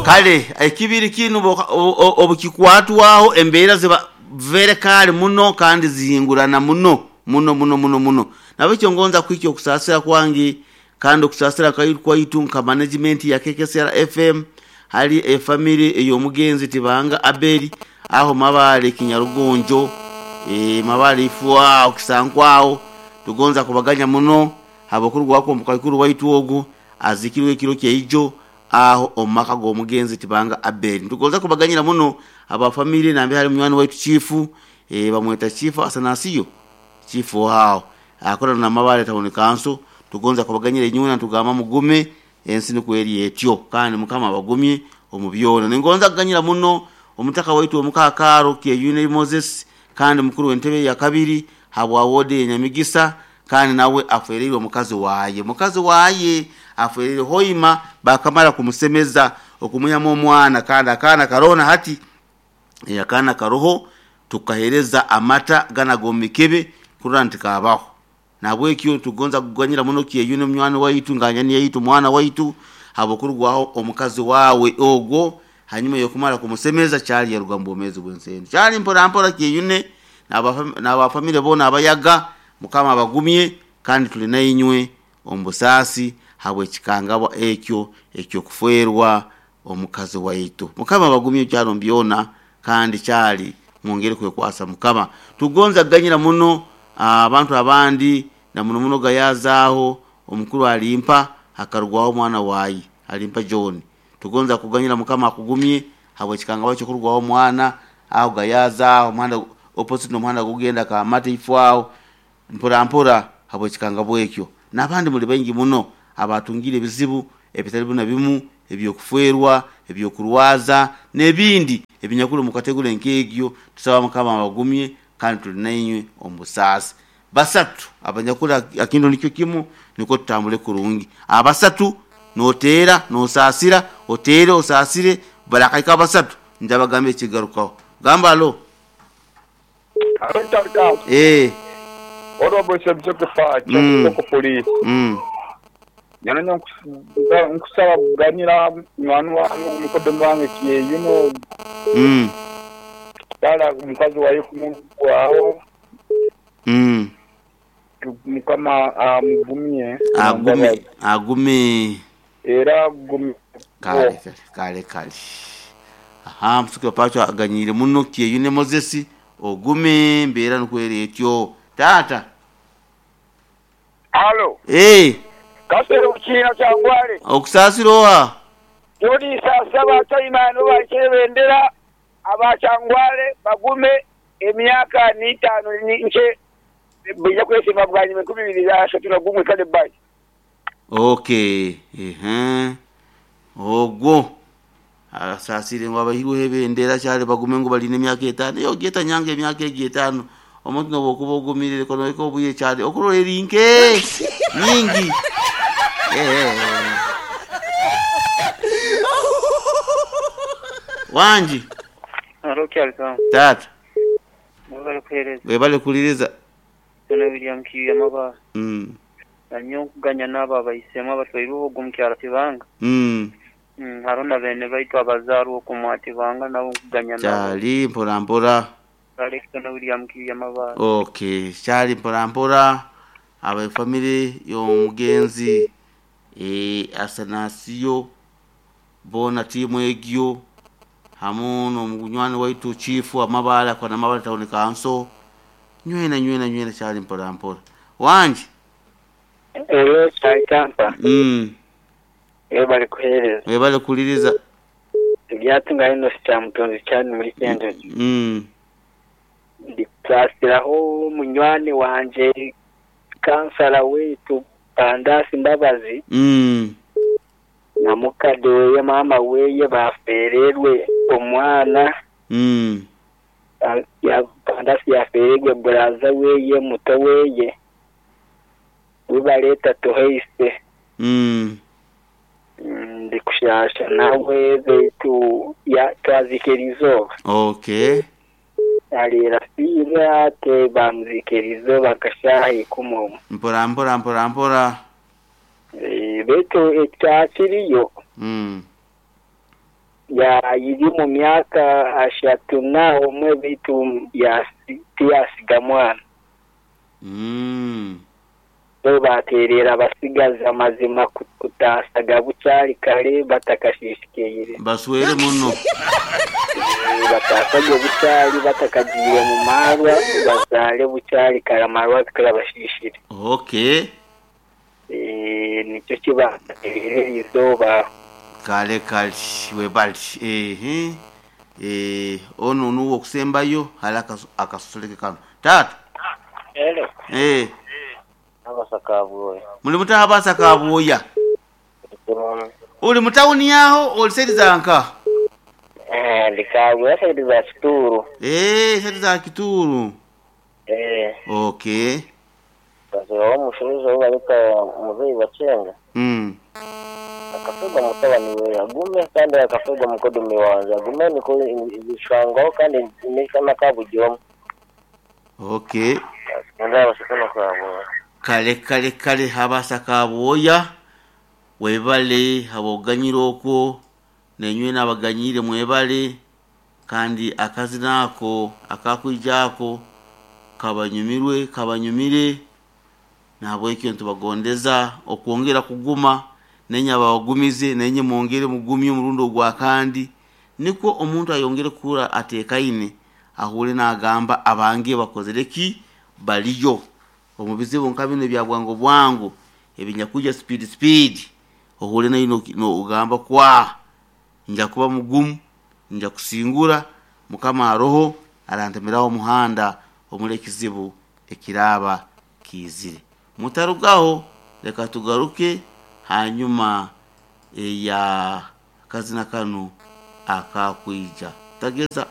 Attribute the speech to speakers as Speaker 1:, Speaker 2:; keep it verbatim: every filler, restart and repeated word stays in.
Speaker 1: Kale ekibiri kinu obukikwatwaho embeera ziba very kale muno kandi zihingurana muno muno muno muno muno. Nabekyo ngonza kwikyo okusasira kwange kandi okusasira kwaitu nka management ya K K S R F M hali e family ey'omugenzi Tibanga Abeli aho Mabale Kinyarugonjo e Mabale ifwa okusankwao tugonza kubaganya muno habokuru wako mukakuru waitu ogu azikirwe ekiro kyeijo aho omaka g'omugenzi Tibanga Abeli. Tugonza kubaganyira muno aba family nambe hali munywani waitu chifu e bamweta chifu Asanasiyo chifu hao akora na Mabale town council. Tugonza kubaganyira inyuna tugamba mugume ensi nikweri etyo kandi mukama bagumye omubyona. Ningonza kuganyira muno omutaka waitu omukakaro Kyeyune Moses kandi mukuru w'entebe ya kabiri habwa wode Nyamigisa kandi nawe afereirwe omukazi waye mukazi waye afereire hoima bakamara kumusemeza okumuyamo omwana kandi akana karona hati yakana karoho tukahereza amata gana gomikebe kurora ntikabaho. Nabwekyo tugonza kuganyira muno Kyeyune munywani waitu nganyani yaitu mwana waitu habokurwaho omukazi wawe ogwo hanyuma yokumara kumusemeza cyali yarugambo omezi bwensende cyali mpora mpora Kyeyune n'aba family bona abayaga mukama abagumye kandi tuli nayinywe ombusasi habwe kikangabwa ekyo ekyo kuferwa omukazi waitu. Mukama abagumye cyaro mbyona kandi cyali mwongere kwekwasa mukama. Tugonza kuganyira muno abantu abandi na muno muno gayazaho omukuru alimpa akarugwaho omwana wayi alimpa John. Tugonza kuganyira mukama akugumye habwe kikangabwa cyo kurugwaho omwana aho gayazaho omwana opposite nomwana gugenda ka mate ifwao mpora mpora habwe kikangabwa ekyo. Nabandi muri bengi muno abatungire bizibu ebitari buna bimu ebyokuferwa ebyokurwaza nebindi ebinyakuru mukategura nkegyo. Tusaba mukama abagumye kandi tuli nayinywe ombusasi. Basatu abanyakura akindo nikyo kimu niko tutambule kurungi. Abasatu notera nosasira otere osasire barakaika basatu njabagambe ekigarukaho. Gamba alo. Eh
Speaker 2: Orobo sebjokefa kyoko police.
Speaker 1: Mm.
Speaker 2: Nyana nkusaba kuganira mwana wangu mukodo wange Kyeyune.
Speaker 1: Mm.
Speaker 2: Dala mukazi wayo kumugwaho.
Speaker 1: Mm.
Speaker 2: Mukama amugumye.
Speaker 1: Agume agume.
Speaker 2: Era agume.
Speaker 1: Kale kale kale. Aha msuko pacho aganyire muno Kyeyune Moses ogume mbera nukwere etyo. Tata.
Speaker 2: Halo.
Speaker 1: Eh.
Speaker 2: Kasero ukina cyangware.
Speaker 1: Okusasiroha.
Speaker 2: Yodi sasaba taimano bakebendera abachangware bagume emyaka nitano nche bija kwesema bwanyi makumi bibiri na ashatu na gumwe kale bye.
Speaker 1: Okay. Eh. Ogwo. Asasire ngo abahirwe hebendera cyale bagume ngo baline emyaka etano. Yo geta nyange emyaka etano. Omuntu nobokuba ogumirire kono eko buye cyane okurorera inke nyingi. Eh. Wanji.
Speaker 3: Alo kyalika.
Speaker 1: Tata.
Speaker 3: Mwebale kuhereza.
Speaker 1: Mwebale kuliriza.
Speaker 3: Tuna William Kiya maba.
Speaker 1: Mm.
Speaker 3: Nanyo kuganya naba abayisema batwairuho gumukyala Tibanga.
Speaker 1: Mm.
Speaker 3: Mm, harona bene baitu abazaru okumwa Tibanga nabo kuganya nabo.
Speaker 1: Cyali mpora mpora.
Speaker 3: Alexander William Kiya maba.
Speaker 1: Okay, cyali mpora mpora aba family y'omugenzi eh Asanasiyo bona timu egyo hamu n'omunywani waitu chifu amabala kwa namabala town council nywena nywena nywena cyali mpora mpora. Wanje.
Speaker 4: Ero cyali kampa.
Speaker 1: Mm.
Speaker 4: Ebale kuhereza.
Speaker 1: Ebale kuliriza.
Speaker 4: Byatunga ino cyamutonzi cyane muri Kendrick.
Speaker 1: Mm.
Speaker 4: Ndikasiraho munywani wanje kansala wetu Pandasi Mbabazi.
Speaker 1: Mm.
Speaker 4: Na mukade weye mama weye bafererwe omwana.
Speaker 1: Mm.
Speaker 4: Ya Pandasi yafererwe braza weye muto weye wibaleta toheise.
Speaker 1: Mm.
Speaker 4: Ndikushasha nawe betu ya twazikerizo.
Speaker 1: Okay.
Speaker 4: Alira fira te bamzikerizo bakashahi kumomo.
Speaker 1: Mpora mpora mpora mpora.
Speaker 4: E, betu ekyakiriyo.
Speaker 1: Mm.
Speaker 4: Ya iri mu myaka ashatu na omwe baitu yasi tiyasiga mwana.
Speaker 1: Mm.
Speaker 4: So baterera abasigazi amazima ku- kutasaga bukyali kare batakashishikaire.
Speaker 1: Baswere muno.
Speaker 4: Batasage bukyali batakagiire mu marwa, bazaale bukyali kare amarwa tikarabashishire.
Speaker 1: Okay.
Speaker 4: Eh, nikyo kibaterera izooba.
Speaker 1: Kale kale webali. Ehe. Eh, ono nuwo okusembayo hali akasu- akasoleke kano. Tata.
Speaker 3: Hello.
Speaker 1: Eh,
Speaker 3: Abasaka bwoya.
Speaker 1: muli mutaha basaka bwoya. Uli mutawuni yaho oli seri zanka.
Speaker 3: Eh, ndikabwe side za Kituru.
Speaker 1: Eh, seri za Kituru.
Speaker 3: Eh,
Speaker 1: Okay.
Speaker 3: bazira omushuruzo bareka muzeyi bacenga.
Speaker 1: Mm.
Speaker 3: Akafegwa mutabani we agume kandi akafegwa mukodume wange agume niko ibishwangaho kandi nikana kabugyomu.
Speaker 1: Okay.
Speaker 3: Ndabasaka kabwoya.
Speaker 1: Kale kale kale habasaka bwoya webale haboganyira okwo nenywe nabaganyire mwebale kandi akazina ako akakwijako kabanyumirwe kabanyumire nabwekyo ntubagondeza okwongera kuguma nenye abawagumize nenye mwongere mugumye omurundi ogwa kandi nikwo omuntu ayongere kukura atekaine ahure nagamba abange bakozere ki baliyo omu bizibu nka bino ebya bwangu bwangu ebinyakuja speed speed ohure nayo no- no- ogamba kwa nja kuba mugumu nja kusingura mukama aroho arantemeraho omuhanda omuri ekizibu ekiraba kiizire. Mutarugaho, reka tugaruke hanyuma eya kazina kano akakwija tageza.